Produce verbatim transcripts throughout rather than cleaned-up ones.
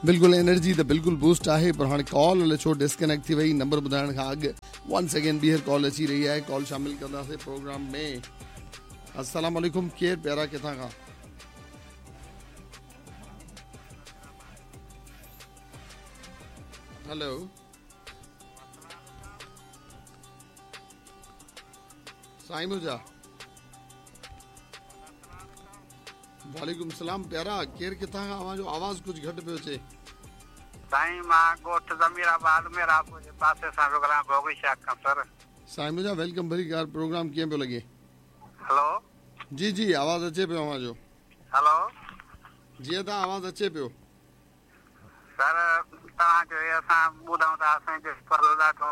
बिल्कुलु एनर्जी त बिल्कुलु बूस्ट आहे, पर हाणे कॉल अलाए छो डिस्कनेक्ट थी वई। नंबर ॿुधाइण खां अॻु वन सेकेंड ॿीहर कॉल अची रही आहे, कॉल शामिल कंदासीं प्रोग्राम में। अस्सलाम वालेकुम, केरु प्यारा, किथां खां? हेलो साईं मुंहिंजा, वालेकुम सलाम। प्यारा केरु किथां खां? अव्हां जो आवाज़ कुझु घटि पियो अचे। साईं मां ॻोठ ज़मीराबाद मेरापुर जे पासे सां पियो ॻाल्हायां, भोगड़ी शाख खां। सर साईं मुंहिंजा welcome भली कार, प्रोग्राम कीअं पियो लॻे? हेलो जी जी, आवाज़ अचे पियो अव्हां जो। हेलो जी अदा आवाज़ अचे पियो। सर तव्हांजो असां ॿुधूं था, असांजो ॾाढो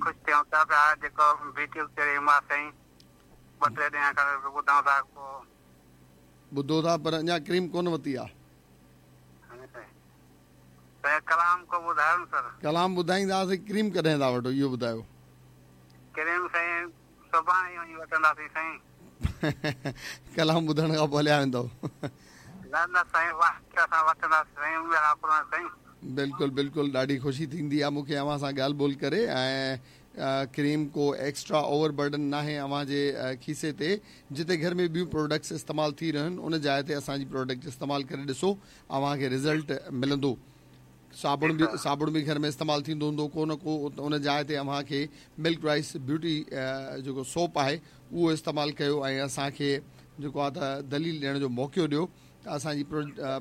ख़ुशि थियूं था पिया, जेको ब्यूटी क्रीम आहे साईं, ॿ टे ॾींहं खां ॿुधूं था। पोइ ॿुधो था पर अञा क्रीम कोन वरिती आहे। कलाम को ॿुधायो न सर। कलाम ॿुधाईंदासीं, क्रीम कॾहिं था वठो इहो ॿुधायो। क्रीम साईं सुभाणे वञी वठंदासीं साईं। कलाम ॿुधण खां पोइ हलिया वेंदव? न न साईं, असां वठंदासीं साईं साईं। बिल्कुलु बिल्कुलु, ॾाढी ख़ुशी थींदी आहे मूंखे अव्हां सां ॻाल्हि ॿोल करे। ऐं क्रीम को एक्स्ट्रा ओवर बर्डन नाहे अव्हांजे खीसे ते। जिते घर में ॿियूं प्रोडक्ट्स इस्तेमालु थी रहियूं आहिनि, उन जाइ ते असांजी प्रोडक्ट इस्तेमालु करे ॾिसो, अव्हांखे रिज़ल्ट मिलंदो। साबुण बि साबुण बि घर में इस्तेमालु थींदो हूंदो को न को, उन जाइ ते अव्हांखे मिल्क राइस ब्यूटी जेको सोप आहे उहो इस्तेमालु कयो ऐं असांखे जेको आहे त दलील ॾियण जो मौक़ो ॾियो त असांजी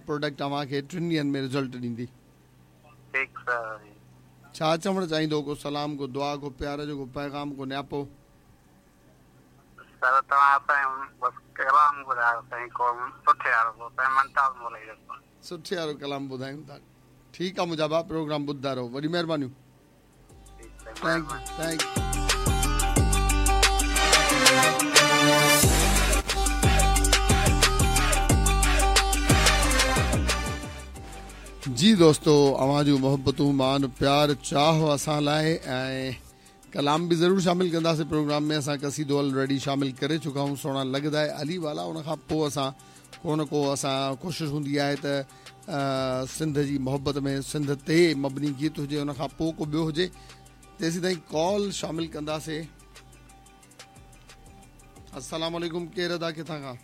प्रोडक्ट अव्हांखे टिनि ॾींहंनि में रिज़ल्ट ॾींदी। छा चवणु चाहींदो? को सलाम, को दुआ, को प्यार जो को पैगाम, को न्यापो? सर तव्हां बसि कलाम ॿुधायो साईं, को सुठे वारो साईं, मुमताज़ मोलाई जो सुठे वारो कलाम ॿुधायूं था। ठीकु आहे मुंहिंजा भाउ, प्रोग्राम ॿुधंदा रहो। वॾी महिरबानियूं। Thank you thank you. जी दोस्तो, अव्हां जूं मोहबतूं, मान, प्यार, चाह असां लाइ ऐं कलाम बि ज़रूरु शामिल कंदासीं प्रोग्राम में। असां कसीदो ऑलरेडी शामिल करे चुका आहियूं, सोणा लॻंदा आहे अली वाला। उन खां पोइ असां को न को असां कोशिशि हूंदी आहे त सिंध जी मोहबत में सिंध ते मबनी गीत हुजे, उन खां पोइ को ॿियो हुजे। तेसीं ताईं कॉल शामिल कंदासीं। अस्सलाम वालेकुम, केरु अदा, किथां खां?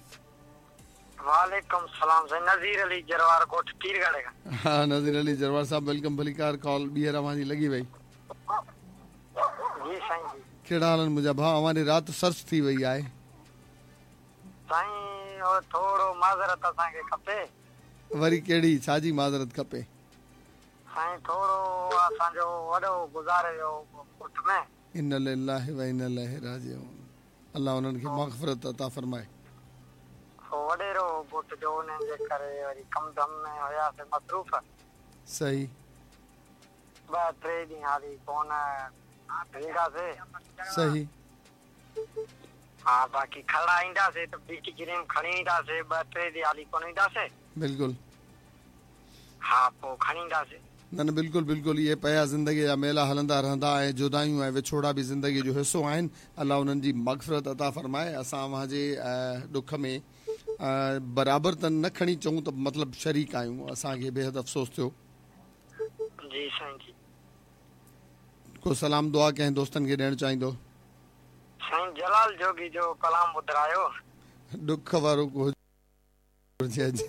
वालेकुम सलाम साईं, नज़ीर अली जरवार ॻोठ पीरगढ़ खां। हा नज़ीर अली जरवार साहब, welcome भलीकार। कॉल ॿीहर अव्हांजी लॻी वई। जी साईं जी। कहिड़ा हाल आहिनि मुंहिंजा भाउ? अव्हांजी राति सर्च थी वई आहे। साईं थोरो माज़रत असांखे खपे। वरी कहिड़ी, छाजी माज़रत खपे? साईं थोरो असांजो वॾो गुज़ारे वियो ॻोठ में। इन्ना लिल्लाहि व इन्ना इलैहि राजिऊन। अल्लाह उन्हनि खे मग़फ़िरत अता फरमाए। वॾेरो ॻोठ जो, उन्हनि जे करे वरी कम धम में हुयासीं मसरूफ़। सही। ॿ टे ॾींहं हाली कोन ईंदासीं। सही। हा, बाक़ी खड़ा ईंदासीं त ब्यूटी क्रीम खणी ईंदासीं, ॿ टे ॾींहं हाली कोन ईंदासीं। बिल्कुलु। हा, पोइ खणी ईंदासीं। न न बिल्कुलु बिल्कुलु, इहे पिया ज़िंदगी जा मेला हलंदा रहंदा ऐं जुदाइयूं ऐं विछोड़ा बि ज़िंदगी जो हिसो आहिनि। अलाह उन्हनि जी मग़फ़िरत अता फरमाए। असां अव्हांजे ॾुख में बराबरि त न खणी चऊं त मतिलबु शरीक आहियूं। असांखे बेहद अफ़सोस थियो। जी साईं जी। को सलाम दुआ कंहिं दोस्तनि खे ॾियणु चाहींदो? साईं जलाल जोगी जो कलाम ॿुधायो। ॾुख वारो को हुजे।